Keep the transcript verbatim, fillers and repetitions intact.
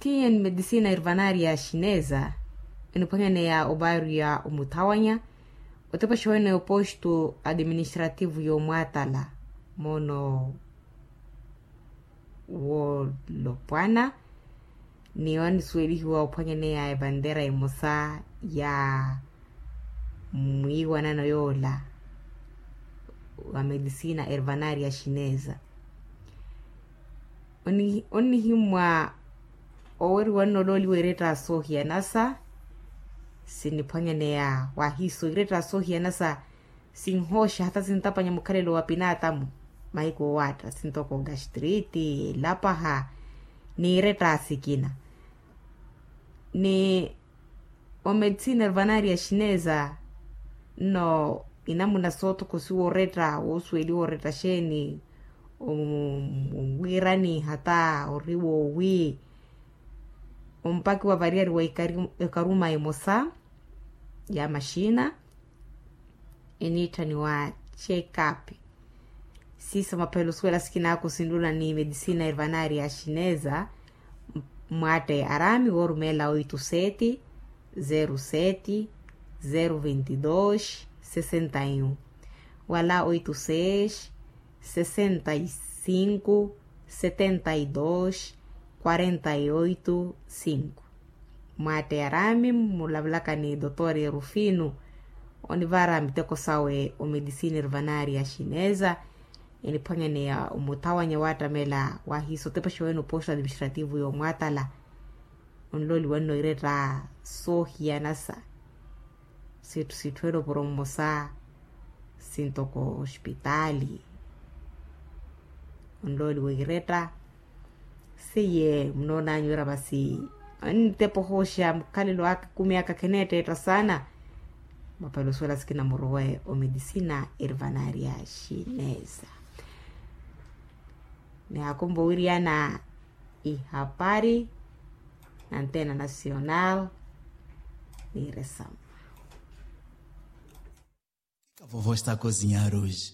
Tiye ni medisina ervanari ya xineza eniphwanyaneya obaru ya omuthawanya otepaxa wene oposto administrativo y'omwatala mono wolopwana. Ni wanisuwelihiwa ophwanyaneya evantera emosa ya mwiiwanano yoola wa medisina ervanari ya xineza. Onnihimmwa oweriwa nnolooliwa eretta soohiyanasa. Sinniphwanyaneya wahiiso eretta soohiyanasa sinhooxa hata sintapanya mukhalelo wa pinaatamu mahiku owaatta sintoko gastriti elapaha ni eretta sikina. Ni omedisina ervanari ya xineza nno inamuna sootokosiwa oretta woosuweliwa oretta xeeni? Owiirani hata ori woowi ompakiwa variyari wa ekaruma emosa ya maxina eniitthaniwa check-up. Siiso maphelo suwela sikinaako sinlula ni medisina ervanari ya xineza. Mwatte arami woorumela oito sete zero sete zero vinte e dois sessenta e um wala oito seis sessenta e cinco setenta e dois quarenta e oito cinco. Mwatte arami mulavulaka ni dotor erufino onivara miteko sawe omedisina ervanari ya xineza. Eniphwanyaneya omuthawanya waattamela wahiiso otepaxa wene oposto administrativo y'omwatala onlooliwa nno eretta soohiyanasa. Sitthu sitthu ene opuro mmosa sintoko ospitaali onlooliwa eretta. Seiye munoonanyu wira masi ontepa ohooxa mukhalelo aka ekumi aka kheneetteetta saana. Mapelo suwela sikina murowe omedisina ervanari ya xineza. Nihakumva owiriyana ihapari na antena nacional. Niiresama. Kavovo está a cozinhar hoje.